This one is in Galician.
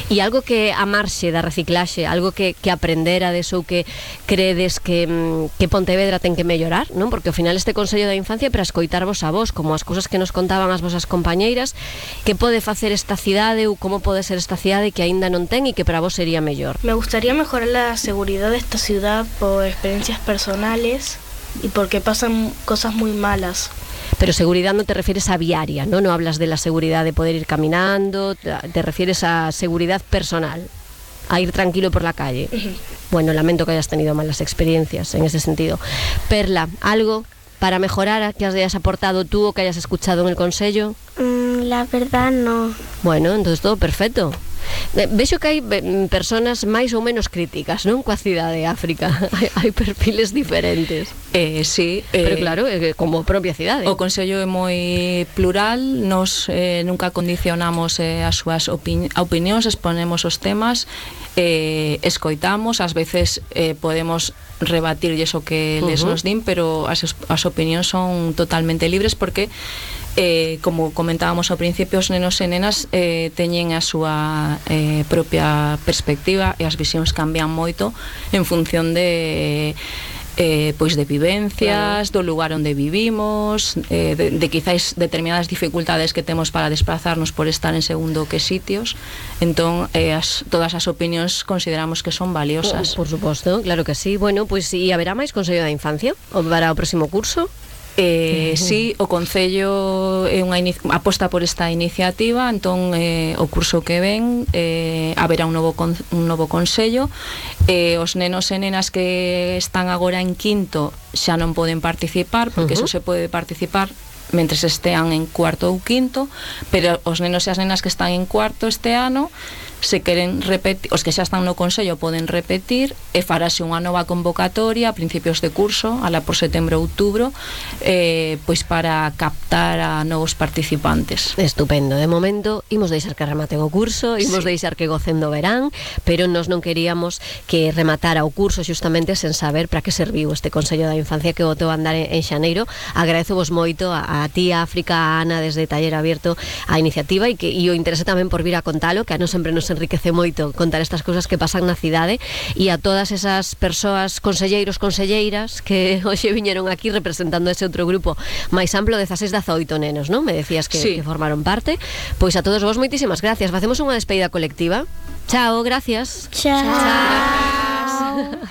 E algo que a marxe da reciclaxe, algo que aprenderades ou que credes que Pontevedra ten que mellorar, non? Porque ao final este Consello da Infancia é para escoitarvos a vos, como as cousas que nos contaban as vosas compañeiras, que pode facer esta cidade ou como pode ser esta cidade que aínda non ten e que para vos sería mellor. Me gustaría mejorar la seguridad de esta ciudad por experiencias personales y porque pasan cosas muy malas. Pero seguridad no te refieres a viaria, ¿no? No hablas de la seguridad de poder ir caminando, te refieres a seguridad personal, a ir tranquilo por la calle. Bueno, lamento que hayas tenido malas experiencias en ese sentido. Perla, ¿algo para mejorar que hayas aportado tú o que hayas escuchado en el Consello? La verdad no. Bueno, entonces todo perfecto. Vexo que hai personas máis ou menos críticas, non? Coa cidade de África. Hai perfiles diferentes. Sí, pero claro, como propia cidade. O Consello é moi plural, nos nunca condicionamos as súas opinións, exponemos os temas, escoitamos, ás veces podemos rebatir iso que les nos din, pero as opinións son totalmente libres porque como comentábamos ao principio, os nenos e nenas teñen a súa propia perspectiva e as visións cambian moito en función de pois de vivencias, do lugar onde vivimos, de quizáis determinadas dificultades que temos para desplazarnos por estar en segundo que sitios. Entón, todas as opinións consideramos que son valiosas. Por suposto, claro que sí. Bueno, pois e haberá máis Consello da Infancia para o próximo curso? Sí, o Concello é unha aposta por esta iniciativa. Entón o curso que ven haberá un novo Consello. Os nenos e nenas que están agora en quinto xa non poden participar, porque eso se pode participar mentres estean en cuarto ou quinto, pero os nenos e as nenas que están en cuarto este ano, se queren repetir, os que xa están no Consello poden repetir e farase unha nova convocatoria a principios de curso, alá por setembro ou outubro, pois para captar a novos participantes. Estupendo. De momento imos deixar que rematen o curso, imos deixar que gocen do verán, pero nós non queríamos que rematara o curso xustamente sen saber para que serviu este Consello da Infancia que botou a andar en xaneiro. Agradezo vos moito a ti, a África, a Ana desde Taller Abierto a iniciativa e o interese tamén por vir a contalo, que a nos sempre nos enriquece moito contar estas cousas que pasan na cidade, e a todas esas persoas, conselleiros, conselleiras que hoxe viñeron aquí representando ese outro grupo máis amplo, 16-18 nenos, non? Me decías que formaron parte. Pois a todos vos moitísimas gracias. Facemos unha despedida colectiva. Chao, gracias. Chao. Chao.